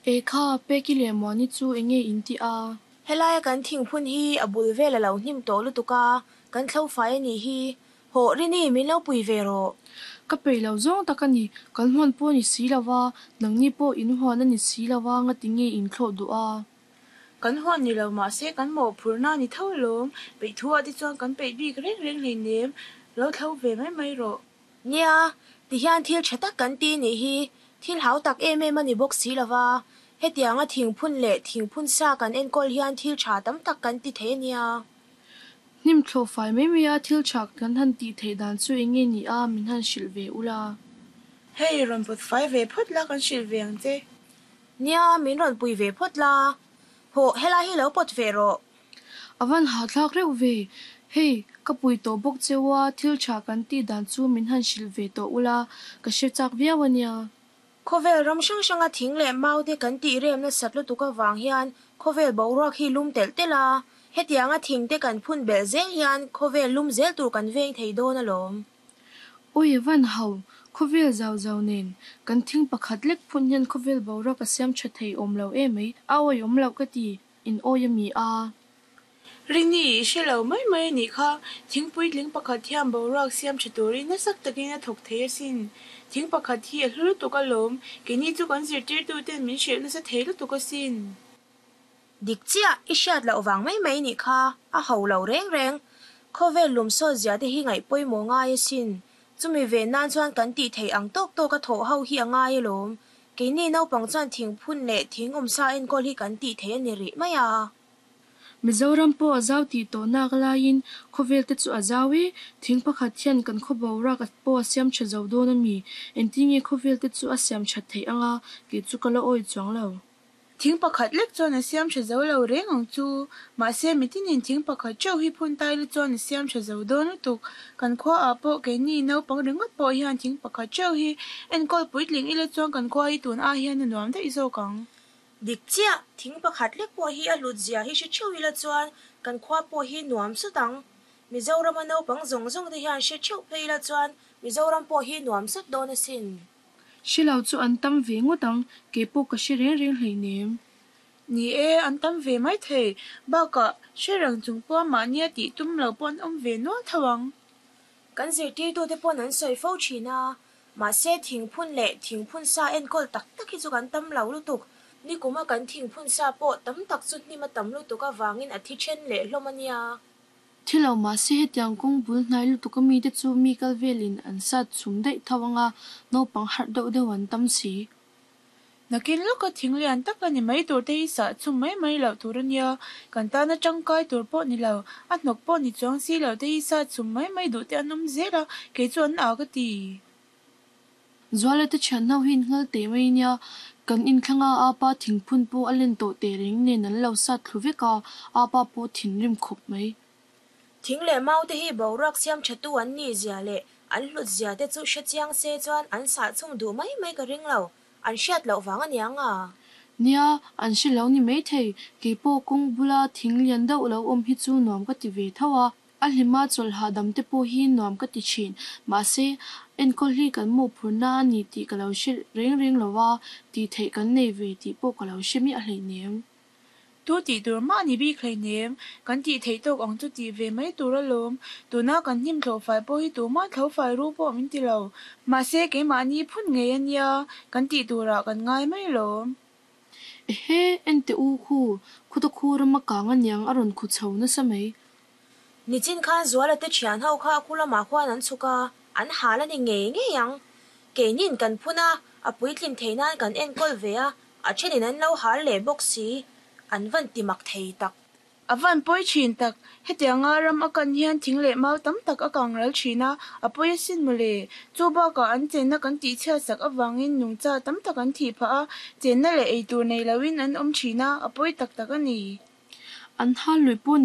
Ekha, Peki leh Muani chu enge in tih a? Helaia kan thingphun hi a bul vel a lo hnim tawh lutuk a, kan thlo fai a nih hi. Hawh Rini, min lo pui ve rawh. Ka peih lo zawng tak a ni, kan huan pawh a ni si lo va, nangni pawh in huan a ni si lo va, ngati nge in thlawh duh a? Kan huan ni lo mahse kan mawhphurhna a ni tho alawm, peih thu ah te chuan kan peih bik reng reng hleinem, lo thlo ve mai mai rawh. Nia, tihian thil tha tak kan ti nih hi, thil hau tak em em a ni bawk si lo va, hetianga thingphun leh thingphun sa kan enkawl hian thil tha tam tak kan ti thei a nia. Hnim thlawh fai mai mai a thil tha kan han tih theih dan chu eng nge ni a, min han hrilh ve ula. Hei, rawn pawt fai ve phawt la kan hrilh ve ang che. Nia, min rawn pui ve phawt la. Hawh, helai hi lo pawt ve rawh. A van hahthlak reuh ve. Hei, ka pui tawh bawk cheu a, thil tha kan tih dan chu min han hrilh ve tawh ula, ka hre chak viau a nia. Khawvel ram hrang hranga thing leh mau te kan tih rem nasat lutuk avang hian khawvel boruak hi lum telh telh a, hetianga thing te kan phun belh zel hian khawvel lum zel tur kan veng thei dawn alawm. Awi a van hau, khawvel zau zau nen, kan thing pakhat lek phun hian khawvel boruak a siam tha thei awm lo emai, a awi awm loh ka ti, in awi a mi a. Rini, i hre lo mai mai a nih kha, thing puitling pakhat hian boruak siam tha turin nasa takin a thawk thei asin. Thing pakhat hi a hlu lutuk alawm, keini chu kan zirtirtuten min hrilh nasa thei lutuk asin. Dik chiah, i hriat loh vang mai mai nih kha, a ho lo reng reng. Khawvel lum sawt zia te hi ngaih pawimawh ngai asin. Chumi ve nan chuan kan tih theih ang tawk tawk a thawh ho hi a ngai alawm. Keini naupang chuan thingphun leh thing awmsa enkawl hi kan tih theih a ni rih mai a. Mizoram pawh a zau tih tawh nak laiin khawvel te chu a zau e, thing pakhat hian kan khaw boruak pawh a siam tha zo dawn a mi? Engtin nge khawvel te chu a siam that theih anga kei chu ka la awi chuang lo. Thing pakhat lek chuan a siam tha zo lo reng ang chu. Mahse mitinin thing pakhat theuh hi phun tai la chuan a siam tha zo dawn lutuk. Kan khua ah pawh keini naupang ringawt pawh hian thing pakhat theuh hi enkawl puitling ila chuan kan khua hi tun ai hian a nuam daih zawk ang. Dik chiah, thing pakhat lek pawh hi a hlut zia hi hre theuh ila chuan kan khua pawh hi nuam sawt ang. Mizorama naupang zawng zawng te hian hre theuh phei ila chuan Mizoram pawh hi nuam sawt dawn asin. Hre lo chu an tam ve ngawt ang, kei pawh ka hre reng reng hleinem. Ni e, an tam ve mai thei. Bakah, hre reng chung pawha mahnia tih tum lo pawh an awm ve nual tho ang. Kan zirtirtute pawn an sawi fo thin a, mahse thingphun leh thingphun sa enkawl tak tak hi chu kan tam lo lutuk. Nikuma kan thingphun sa pawh tam tak chu hnim a tam lutuk avangin a thi then leh hlawm a nia. Thi lo mahse hetiang kawng bul hnai lutuk a mite chu mi kal velin an sat chhum daih tho anga naupang harh deuh deuh an tam si. Nakin lawka thing lian tak a ni mai tur te hi sah chhum mai mai loh tur a nia, kan tana tangkai tur pawh ni lo, a hnawk pawh ni chuang si lo te hi sah chhum mai mai duh te an awm zel a, kei chu an â ka ti. Zuala te thian ho hi in nghal teh mai nia, kan inthlang a apa thingphun pawh a len tawh teh reng nen an lo sat thlu vek a, apa pawh thinrim khawp mai. Thing leh mau te hi boruak siam tha tu an nih zia leh an hlut zia te chu hre chiang se chuan an sah chhum duh mai mai ka ring lo, an hriat loh vang a niang a. Nia, an hre lo ni mai thei, kei pawh kawng bula thing lian deuh lo awm hi chu nuam ka ti ve tho a, a hlima chawlh hahdam te pawh hi nuam ka ti thin, mahse enkawl hi kan mawhphurhna a ni tih ka lo hre reng reng lo a, tih theih kan nei ve tih pawh ka lo hre miah hleinem. Tu tih tur mah ni bik hleinem, kan tih theih tawk ang chu tih ve mai tur alawm. Tuna kan hnim thlawh fai pawh hi tumah thlo fai ru pawh min ti lo. Mahse keimahni phun ngei a nia, kan tih turah kan ngai mai alawm. Ehe, en teh u khu, khuta khu rama kang aniang a rawn khu chho nasa mai. Nichin khan Zuala te thian ho kha khu lamah khuan an chhuk a, an hal a ni ngei ngei ang. Keinin kan phun a, a puitlin theih nan kan enkawl ve a, a thenin an lo hal leh bawk si. An van ti mak thei tak. A van pawi thin tak, hetianga ram a kan hian thing leh mau tam tak a kang ral thin a, a pawi asin mawle. Chu bakah an chenna kan tihchhiat sak avangin nungcha tam tak an thih phah a, chenna leh eitur nei loin an awm thin a, a pawi tak tak a ni. An hal lui pawh